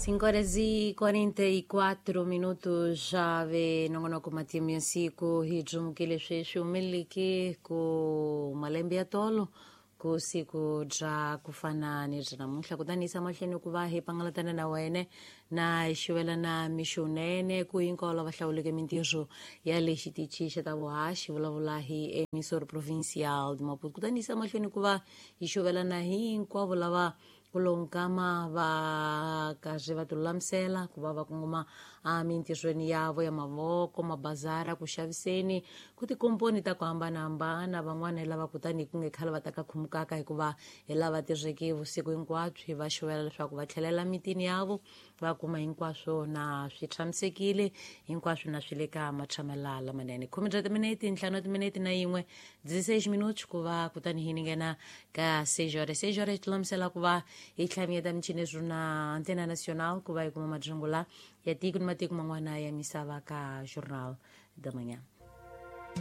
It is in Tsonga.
5 horas e 44 minutos já ve nongonoko matimu ya siku hi dzumukile sweswi humeleleke ku malembe ya tolo ku siku bya ku fana ni bya namuntlha. Kutani yisa mahlweni ku va hi pangalatana na wene na hi xuvelana mixunene ku hinkwavo lava hlawuleke mintirho ya le xitichi xa ta vuhaxi vulavula hi Emissor Provincial de Maputo. Kutani yisa mahlweni ku va hi xuvelana hinkwavo lava ku lonkama va karhi va tilulamisela ku va va kongoma emintirhweni yavo ya mavoko, mabazara, ku xaviseni, ku tikomponi ta ku hambanahambana. Van'wana hi lava kutani ku nge khale va ta ka khumukaka hikuva hi lava tirheke vusiku hinkwabyo, hi va xuvela leswaku va tlhelela mitini yavo va kuma hinkwaswo na swi tshamisekile, hinkwaswo na swi le ka matshamela lamanene. 10 bya timinete, 5 timinete na yin'we, 16 minutos ku va kutani hi ninghena ka 6 horas. 6 horas tilulamisela ku va hi tlhamiyeta michini na Antena Nacional ku va hi kuma madzungula ya tiko ni matiko man'wana ya misava ka Jornal da Manhã.